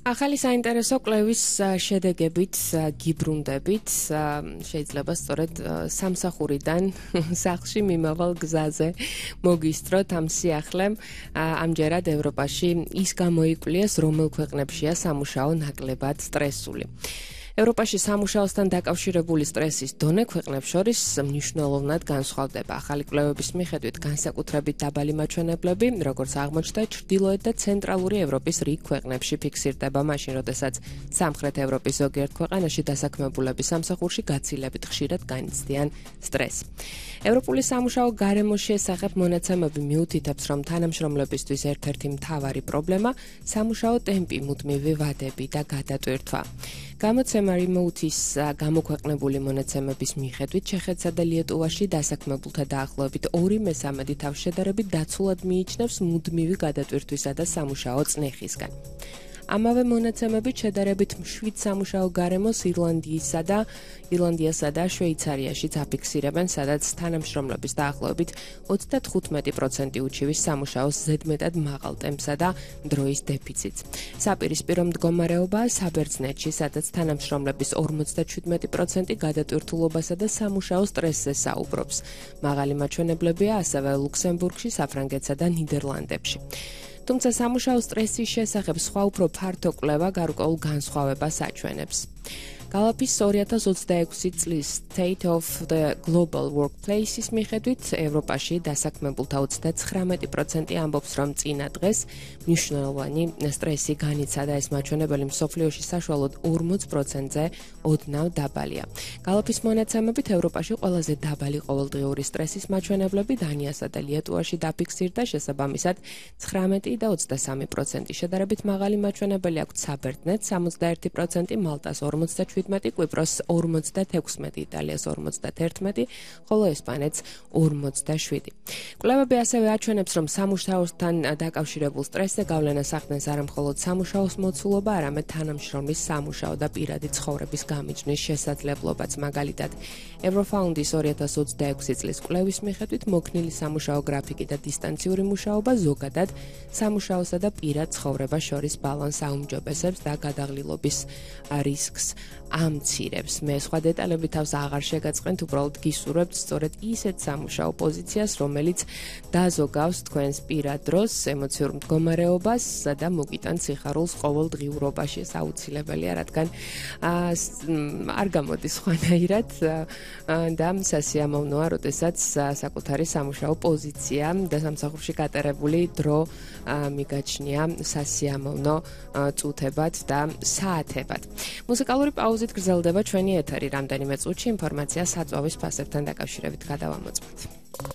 ახალი საინტერესო კვლევის შედეგებით გიბრუნდებით შეიძლება სწორედ სამსახურიდან სახლში მიმავალ გზაზე მოგისწროთ ამ სიახლემ ამჯერად ევროპაში ის გამოიკვლიეს რომელ ქვეყნებშია სამუშაო ნაკლებად სტრესული. ევროპაში სამუშაოსთან დაკავშირებული სტრესის დონე ქვეყნებს შორის მნიშვნელოვნად განსხვავდება. ახალი კვლევების მიხედვით განსაკუთრებით დაბალი მაჩვენებლები, როგორც აღმოჩნდა, ჩრდილოეთ და ცენტრალური ევროპის რიგ ქვეყნებში ფიქსირდება, მაშინ, როდესაც სამხრეთ ევროპის ზოგიერთ ქვეყანაში დასაქმებულები სამსახურში გაცილებით ხშირად განიცდიან სტრესს. ევროპული სამუშაო გარემოს შესახებ მონაცემები მიუთითებს, რომ თანამშრომლებისთვის ერთ-ერთი მთავარი პრობლემა სამუშაო ტემპი, მუდმივი ვადები და გადატვირთვა. გამოცემა Remote-ის გამოქვეყნებული მონაცემების მიხედვით ჩეხეთსა და ლიეტუვაში დასაქმებულთა დაახლოებით 2/3 თავშედარებით დაცულად მიიჩნევს მუდმივი გადატვირთვისა და სამუშაო წნეხისგან. ამავე მონაცემებით შედარებით მშვიდ სამუშაო გარემოს ირლანდიასა და შვეიცარიაშიც აფიქსირებენ, სადაც თანამშრომლების დაახლოებით 35% უჩივის სამუშაოს ზედმეტად მაღალ ტემპსა და დროის დეფიციტს. საპირისპირო მდგომარეობაა საბერძნეთში, სადაც თანამშრომლების 57% გადატვირთულობასა და სამუშაო სტრესზე საუბრობს. მაღალი მაჩვენებლებია ასევე ლუქსემბურგში, საფრანგეთსა და ნიდერლანდებში. თუმცა სამუშაო სტრესის შესახებ სხვა უფრო ფართო კვლევა გარკვეულ განსხვავებას აჩვენებს. გალაფის 2026 წლის State of the Global Workplace-ის მიხედვით ევროპაში დასაქმებულთა 39% ამბობს, რომ წინა დღეს მნიშვნელოვანი სტრესი განიცადა. ეს მაჩვენებელი მსოფლიოში საშუალოდ 40%-ზე ოდნავ დაბალია. გალაფის მონაცემებით ევროპაში ყველაზე დაბალი ყოველდღიური სტრესის მაჩვენებლები დანიასა და ლიეტუვაში დაფიქსირდა, შესაბამისად 19 და 23%. შედარებით მაღალი მაჩვენებელი აქვს საბერძნეთს 61%, მალტას 47%, კვიპროს 46%, იტალიას 41%, ხოლო ესპანეთს 47%. კვლევები ასევე აჩვენებს, რომ სამუშაოსთან დაკავშირებულ სტრესზე გავლენას ახდენს არა მხოლოდ სამუშაოს მოცულობა, არამედ თანამშრომლის სამუშაო და პირადი ცხოვრების გამიჯვნის შესაძლებლობაც. მაგალითად, Eurofound-ის 2026 წლის კვლევის მიხედვით მოქნილი სამუშაო გრაფიკი და დისტანციური მუშაობა ზოგადად სამუშაოსა და პირად ცხოვრებას შორის ბალანსს აუმჯობესებს და გადაღლილობის რისკს ამცირებს. მე სხვა დეტალები თავს აღარ შეგაწყენთ, უბრალოდ გისურვებთ სწორედ ისეთ სამუშაო პოზიციას, რომელიც დაზოგავს თქვენს პირად დროს, ემოციურ მდგომარეობას და მოგიტანს სიხარულს ყოველდღიურობაში. ეს აუცილებელია, რადგან არ გამოდის სხვანაირად და სასიამოვნოა, როდესაც საკუთარი სამუშაო პოზიცია და სამსახურში გატარებული დრო მიგაჩნია სასიამოვნო წუთებად და საათებად. მუსიკალური პაუზით გრძელდება ჩვენი ეთერი. რამდენიმე წუთში ინფორმაცია საწვავის ფასებთან დაკავშირებით გადავამოწმოთ.